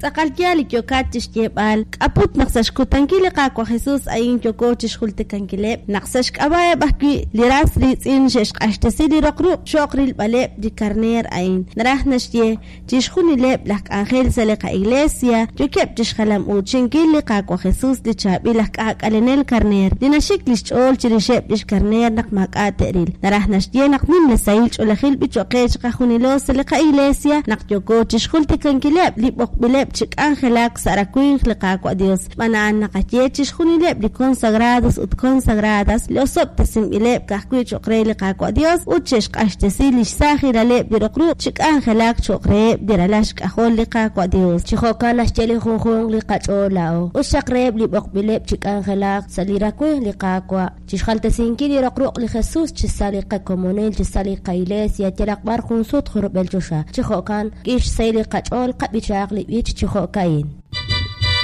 Tz'aqal yaal li yookat chi xyeeb'al. K'a' put naq sa' xkutankil li Qaawa' Jesus a'in yooko chi xjultikankileb'? Naq sa' xk'ab'a'eb' ajwi' li ras riitz'in xe'xq'axtesi li roq ruq' cho'q rilb'aleb' li karneer a'in. Naraj naxye, Chixjunileb' laj k'anjel sa' li qa'Iglesia yookeb' chixjalam-uuchinkil li Qaawa' Jesus, li chaab'il aj k'aak'alenel karneer, li naxik lix ch'ool chirixeb' lix karneer naq maak'a' te'ril. Naraj naxye naq nimla sahil ch'oolejil b'i choq' qe chiqajunilo sa' li qa'Iglesia naq yooko chixjultikankileb' li b'oqb'ileb' chi k'anjelak sa' rawimq li Qaawa' Dios. Xb'aan a'an naqaye chixjunileb' li consagrados ut consagradas li osob'tesinb'ileb' ka'ajwi' cho'q re li Qaawa' Dios ut xe'xq'axtesi lix saajilaleb' li roq ruq' chi k'anjelak cho'q reheb' li ralal xk'ajol li Qaawa' Dios. Chi jo'kan naxye li junjunq li qach'ool laa'o. Us xaq reheb' li b'oqb'ileb' chi k'anjelak sa' li rawimq li Qaawa', chixjaltesinkil li roq ruq' li Jesus chi sa' li qakomonil, chi sa' li qaIglesia, yalaq b'ar jun sut junrub'el choxa. Chi jo'kan, k'ix xsahil li qach'ool qab'ichaaq li b'ich chi jo'ka'in.